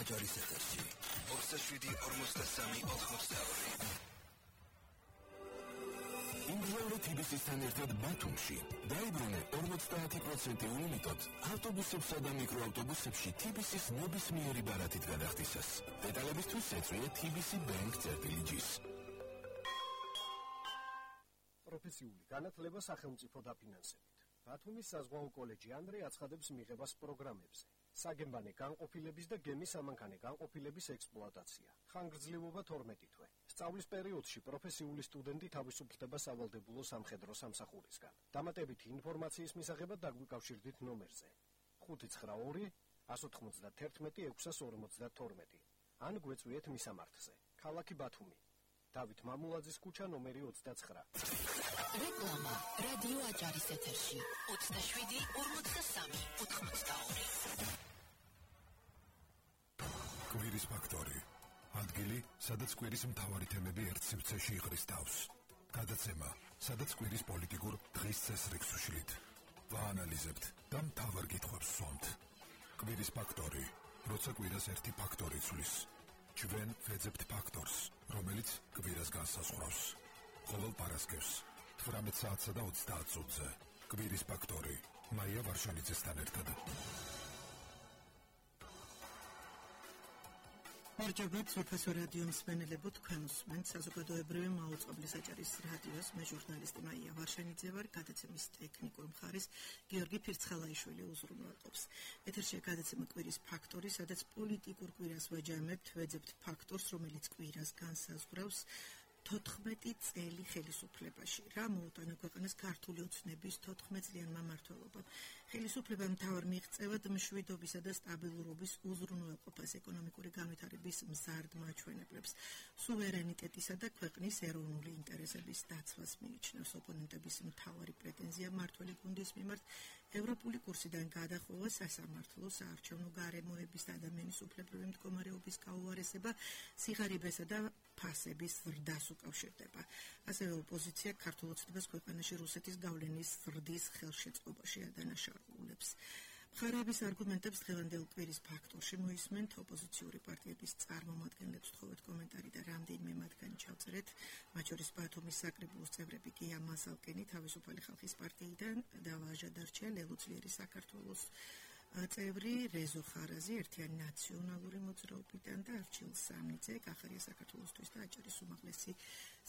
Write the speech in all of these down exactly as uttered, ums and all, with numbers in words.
აჯარის ეთერში ოცდაშვიდი ორმოცდასამი ოთხმოცდაორი. ინგლისური თბილისთან ერთად ბათუმში დაიბრუნე ორმოცდაათი პროცენტი ულიმიტოდ ავტობუსებსა და მიკროავტობუსებში თბილისის ნებისმიერი ბარათით გადახდისას. დეტალებისთვის ეწვია თბილისი ბენკ წერტილიჯის. პროფესიული განათლება სახელმწიფო დაფინანსებით. ბათუმის საზღვაო კოლეჯი ანდრე აცხადებს მიღებას პროგრამებზე. საგემბანე განყოფილების და გემის ამანქანე განყოფილების ექსპლუატაცია. ხანგრძლივობა თორმეტი თვე. სწავლის პერიოდში პროფესიული სტუდენტი თავისუფლდება სავალდებულო სამხედრო სამსახურისგან. დამატებითი ინფორმაციის მისაღებად დაგვიკავშირდით ნომერზე ხუთი ცხრა ორი ათს ოცდაათი ექვსს ორმოცდათორმეტი ან გვეწვიეთ მისამართზე. ქალაქი ბათუმი. დავით მამულაძის ქუჩა ნომერი ოცდაცხრა. რეკლამა რადიო აჯარის ეთერში ოცდაშვიდი ორმოცდასამი ოთხმოცდაორი. კვირის ფაქტორი. ადგილი, სადაც კვირის მთავარი თემები ერთ სივრცეში იღრის თავს. გადაცემა, სადაც კვირის პოლიტიკურ დღის წესრიგს უშლით. ვაანალიზებთ და მთავარ კითხვებს ვსვამთ. კვირის ფაქტორი. როცა კვირას ერთი ფაქტორი ცვლის. ჩვენ ვეძებთ ფაქტორს, რომელიც კვირას განსაზღვრავს. ყოველ პარასკევს თვრამეტ საათსა და ოცდაათ წუთზე. კვირის ფაქტორი. მაია ვარშანიძესთან ერთად. მერჯობათ სოფასო რადიო მსმენელებო, თქვენ უსმენთ საზოგადოებრივი მაუწყებლის აჭარის რადიოს. მე ჟურნალისტი მაია ვარშანიძე ვარ. გადაცემის ტექნიკურ მხარეს გიორგი ფირცხალაიშვილი უზრუნველყოფს. ეთერში გადაცემა კვირის ფაქტორი, სადაც პოლიტიკურ კვირას ვაჯამებთ, ვეძებთ ფაქტორს, რომელიც კვირას განსაზღვრავს. თოთხმეტი წელი ხელისუფლებაში. რა მოუტანა ქვეყანას ქართული ოცნების თოთხმეტწლიანმა მმართველობამ. ხელისუფლებამ მთავარ მიღწევად მშვიდობისა და სტაბილურობის უზრუნველყოფას, ეკონომიკური განვითარების მზარდ მაჩვენებლებს, სუვერენიტეტისა და ქვეყნის ეროვნული ინტერესების დაცვას მიიჩნევს. ოპონენტების მთავარი პრეტენზია მმართველი გუნდის მიმართ ევროპული კურსიდან გადახვევა, სასამართლო, საარჩევნო გარემოების და ადამიანის უფლებრივი მდგომარეობის გაუარესება, სიღარიბესა და ფასების ზრდას უკავშირდება. ასევე ოპოზიცია ქართულ ოცნებას ქვეყანაში რუსეთის გავლენის ზრდის ხელშეწყობაში ადანაშაულებს. მხარეების არგუმენტებს დღევანდელ კვირის ფაქტორში მოისმენთ. ოპოზიციური პარტიების წარმომადგენლებს თხოვეთ კომენტარი და რამდენიმე მათგანი ჩავწერეთ. მათ შორის ბათუმის საკრებულოს წევრები გია მასალკენი თავისუფალი ხალხის პარტიიდან და ვაჟა დარჩია ლელუძლიერი საქართველოს წევრი რეზო ხარაზი ერთიანი ნაციონალური მოძრაობიდან და არჩილ სამნიძე კახარია საქართველოსთვის და აჭარის უმაღლესი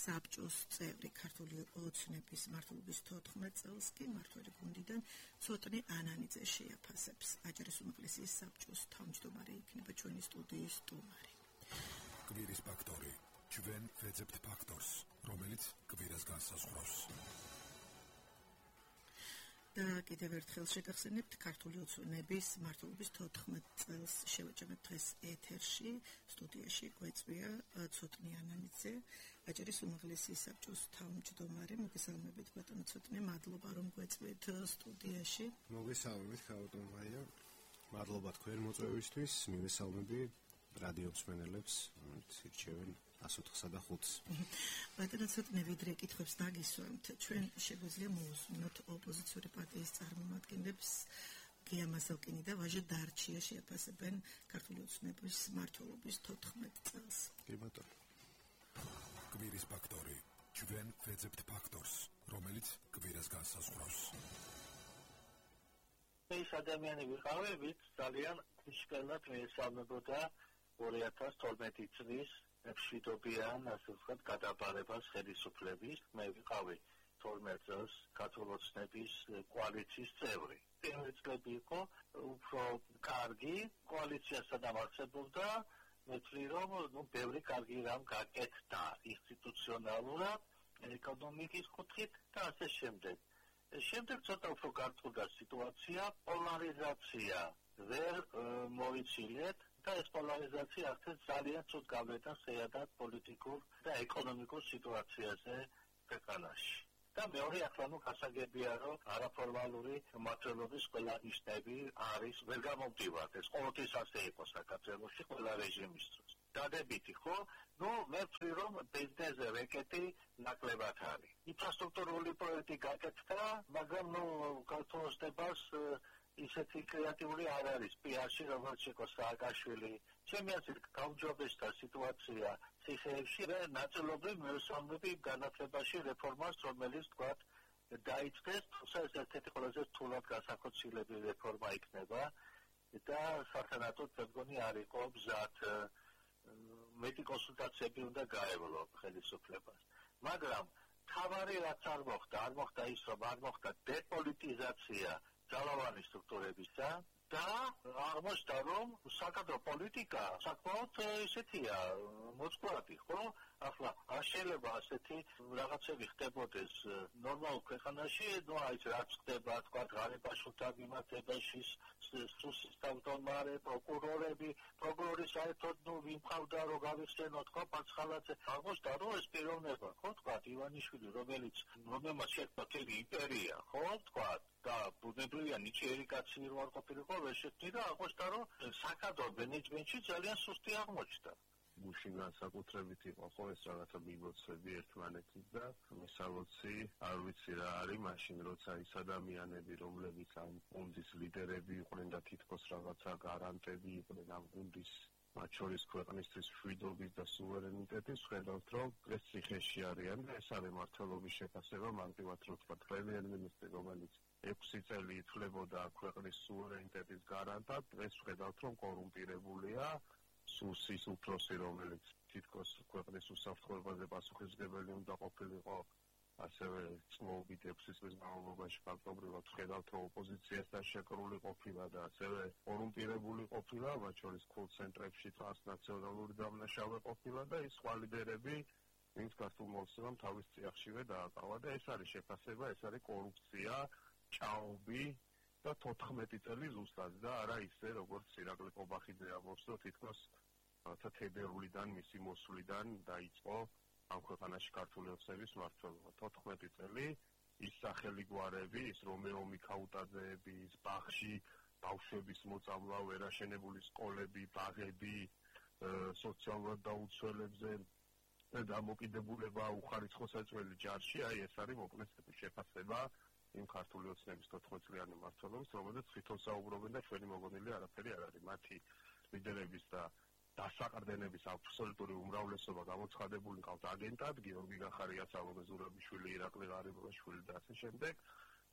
საბჭოს წევრი. ქართული ოცნების მმართველობის თოთხმეტ წელს კი მმართველი გუნდიდან ცოტნე ანანიძე შეაფასებს. აჭარის უმაღლესი საბჭოს თავმჯდომარე იქნება ჩვენი სტუდიის სტუმარი. კვირის ფაქტორი. ჩვენ ვეძებთ ფაქტორს, რომელიც კვირას განსაზღვრავს. და კიდევ ერთხელ შეგახსენებთ ქართული ოცნების მმართველობის თოთხმეტ წელს შევაჯამებთ დღეს ეთერში. სტუდიაში გვეწვია ცოტნე ანანიძე, აჭარის უმაღლესი საბჭოს თავმჯდომარე. მოგესალმებით ბატონო ცოტნე, მადლობა რომ გვეწვიეთ სტუდიაში. მოგესალმებით ბატონო მაია. მადლობა თქვენ მოწვევისთვის. მივესალმები რადიო მსმენელებს, ირჩევენ ას ოთხსა და ხუთს. ბატონო ცოტნე ვიდრე კითხვებს დაგისვამთ, ჩვენ შეგვიძლია მოусმინოთ ოპოზიციური პარტიის წარმომადგენლებს გია მასალკინი და ვაჟა დარჩია შეაფასებენ ქართული ოცნების მმართველობის თოთხმეტ წელს. კი ბატონო. კვირის ფაქტორი. ჩვენ ვეძებთ ფაქტორს, რომელიც კვირას განსაზღვრავს. ეს ადამიანი ვიყავებით ძალიან ისკენად მეესალმებოდა ორი ათას თორმეტი წლის მშვიდობიან, ასე ვთქვათ, გადაბარებას ხელისუფლების. მე ვიყავი თორმეტ წელს ქართული ოცნების კოალიციის წევრი. პირველი წლები იყო უფრო კარგი, კოალიციასთან დამარცხებობდა, მე ვთვლი, რომ ნუ ბევრი კარგი რამ გაკეთდა ინსტიტუციონალურად, ეკონომიკის კუთხით და ასე შემდეგ. შემდეგ ცოტა უფრო გართულდა სიტუაცია, პოლარიზაცია ვერ მოიცილეთ და ეს პოლარიზაცია ახლა ძალიან ცუდ გავლენას შეადათ პოლიტიკურ და ეკონომიკურ სიტუაციაზე ქვეყანაში. და მეორე ახლა ნუ გასაგებია, რომ არაფორმალური მმართველობის ყველა ნიშნები არის ვერ გამომდივართ. ეს ყოველთვის ასე იყო საქართველოში ყველა რეჟიმის დროს. დადებითი ხო? ნუ მე ვთვლი, რომ ბიზნესზე რეკეტი ნაკლებად არის. ინფრასტრუქტურული პროექტი გაკეთდა, მაგრამ ნუ ქართულ ოცნებას ისეთი კრეატიული არ არის პიარში, როგორც იყო სააკაშვილი. ჩემი აზრით, გაუმჯობესდა სიტუაცია ციხეებში და ნაწილობრივ მევსამნები განათლებაში რეფორმას, რომელიც თქვათ დაიწყეს, თუმცა ეს ერთ-ერთი ყველაზე რთულად განსახორციელებელი რეფორმა იქნება და სათანადოდ მე მგონი არ იყო მზად მეტი კონსულტაციები უნდა გაევლო ხელისუფლებას. მაგრამ თავარი რაც არ მოხდა, არ მოხდა ის, რომ არ მოხდა დეპოლიტიზაცია ძალოვანი სტრუქტურებისა და აღმოჩნდა, რომ საკადრო პოლიტიკა საკმაოდ ისეთია მოწყვლადი, ხო? ახლა არ შეიძლება ასეთი რაღაცები ხდებოდეს ნორმალურ ქვეყანაში, ну აი რაც ხდება, თქვა ღარიბაშვილთა მიმართებაში, სუსის თავმჯდომარე, პროკურორები, პროკურორი საერთოდ ნუ ვიმყავდა, რომ გავიხსენო, თქვა პაცხალაძე. აღმოჩნდა, რომ ეს პიროვნება, ხო, თქვა ივანიშვილი, რომელიც რომელმაც შექმნა მთელი იმპერია, ხო, თქვა და ბუნებრივია ნიჭიერი კაცი რო არ ყოფილიყო, ვერ შექმნი და აღმოჩნდა, რომ საკადრო მენეჯმენტში ძალიან სუსტი აღმოჩნდა. გუშინ განსაკუთრებით იყო ხო ეს რაღაცა მიმოცები ერთმანეთის და მისალოცი არ ვიცი რა არის მაშინ როცა ის ადამიანები რომლებიც ამ გუნდის ლიდერები იყვნენ და თითქოს რაღაცა გარანტები იყვნენ ამ გუნდის მათ შორის ქვეყნისთვის მშვიდობის და სუვერენიტეტის ხედავთ რომ ეს ციხეში არიან და ეს არის მმართველობის შეფასება მარტივად რო თქვა პრემიერ-მინისტრი რომელიც ექვსი წელი ითვლებოდა ქვეყნის სუვერენიტეტის გარანტად ეს ხედავთ რომ კორუმპირებულია სუსის უფროსი, რომელიც თითქოს ქვეყნის უსაფრთხოებაზე პასუხისმგებელი უნდა ყოფილიყო, ასევე წლობით ექვსი წლის განმავლობაში ფაქტობრივად ხედავთ, რომ ოპოზიციასთან შეკრული ყოფილა და ასევე კორუმპირებული ყოფილა, მათ შორის კოლ-ცენტრებში ტრანსნაციონალური დამნაშავე ყოფილა და ის სხვა ლიდერები, ვინც ქართულ მოსახლეობამ თავის წიაღშივე დააკავა და ეს არის შეფასება, ეს არის კორუფცია, ჭაობი და თოთხმეტი წელი ზუსტად და არა ისე, როგორც ირაკლი ყობახიძე ამბობს, რომ თითქოს რათა თებერვლიდან მისი მოსვლიდან დაიწყო ამ ქვეყანაში ქართული ოცნების მმართველობა. თოთხმეტი წელი ის სახელი გვარები, ის რომეო მიქაუტაძეები, ის ბაღში ბავშვების მოწამლა, ვერაშენებული სკოლები, ბაღები, სოციალურად დაუცველებზე და დამოკიდებულება უხარისხო საწველი ჯარში, აი ეს არის მოკლედ შეფასება იმ ქართული ოცნების თოთხმეტწლიანი მმართველობის, რომელზეც თვითონ საუბრობენ და ჩვენი მოგონილი არაფერი არ არის. მათი ლიდერების და დასაყრდენების აბსოლუტური უმრავლესობა გამოცხადებული ყავთ აგენტად, გიორგი გახარია, სალომე ზურაბიშვილი, ირაკლი ღარიბაშვილი და ასე შემდეგ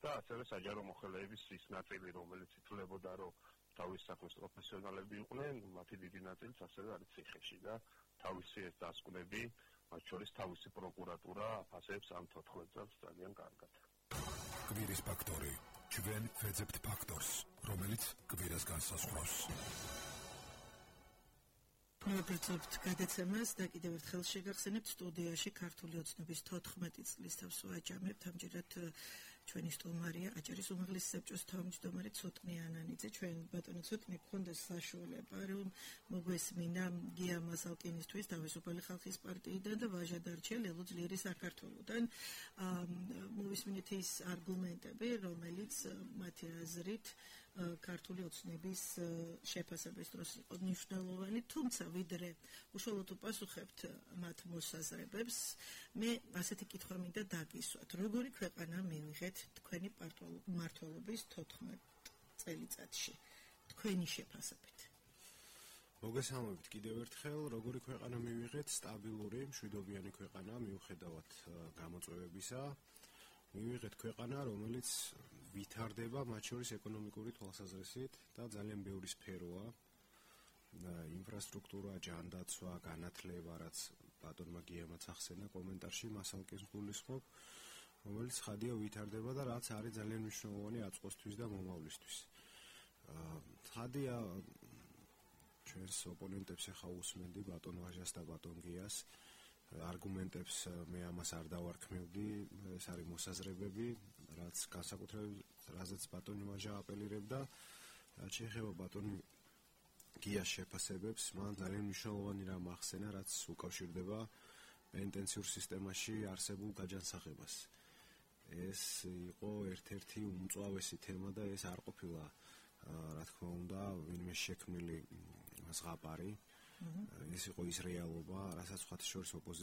და ასევე საჯარო მოხელეების ის ნაწილი, რომელიც ითვლებოდა, რომ თავის საქმის პროფესიონალები იყვნენ, მათი დიდი ნაწილიც ასევე არის ციხეში და თავისი ეს დასკვნები, მათ შორის თავისი პროკურატურა აფასებს ამ თოთხმეტ წელს ძალიან კარგად. კვირის ფაქტორი. ჩვენ ვეძებთ ფაქტორს, რომელიც კვირას განსაზღვრავს. მოგეწევთ გადაცემას და კიდევ ერთხელ შეგახსენებთ სტუდიაში ქართული ოცნების თოთხმეტი წლის თავს ვაჯამებთ. ამჯერად ჩვენი სტუმარია აჭარის უმაღლესი საბჭოს თავმჯდომარე ცოტნე ანანიძე. ჩვენ ბატონო ცოტნე გქონდა საშუალება რომ მოგვესმინა გია მასალკინისთვის თავისუფალი ხალხის პარტიიდან და ვაჟა დარჩა ლელო ძლიერი საქართველოდან. მოვისმინეთ ის არგუმენტები, რომელიც მათი აზრით ქართული ოცნების შეფასების დროს იყო მნიშვნელოვანი, თუმცა ვიდრე უშუალოდ უპასუხებთ მათ მოსაზრებებს, მე ასეთი კითხვა მინდა დაგისვათ. როგორი ქვეყანა მივიღეთ თქვენი მმართველობის თოთხმეტ წელიწადში? თქვენი შეფასებით. მოგესალმებით კიდევ ერთხელ, როგორი ქვეყანა მივიღეთ? სტაბილური, მშვიდობიანი ქვეყანა მიუხედავად გამოწვევებისა. მივიღეთ ქვეყანა, რომელიც ვითარდება მათ შორის ეკონომიკური თვალსაზრისით და ძალიან ბევრი სფეროა. ინფრასტრუქტურა, ჯანდაცვა, განათლება, რაც ბატონმა გიამაც ახსენა კომენტარში, მასალკის გულისხმობ, რომელიც ხადია ვითარდება და რაც არის ძალიან მნიშვნელოვანი აწყოსთვის და მომავლისთვის. ხადია ჩვენს ოპონენტებს ახლა უსმენდი ბატონ ვაჟას და ბატონ გიას არგუმენტებს მე ამას არ დავარქმევდი, ეს არის მოსაზრებები, რაც განსაკუთრებით რაზეც ბატონი ვაჟა აპელირებდა, რაც შეეხება ბატონი გიას შეფასებებს, მან ძალიან მნიშვნელოვანი რამ ახსენა, რაც უკავშირდება პენტენციურ სისტემაში არსებულ გაჯანსაღებას. ეს იყო ერთ-ერთი უმწვავესი თემა და ეს არ ყოფილა, რა თქმა უნდა, ვინმე შექმნილი ზღაპარი. ეს იყო ის რეალობა, რასაც სხვათა შორის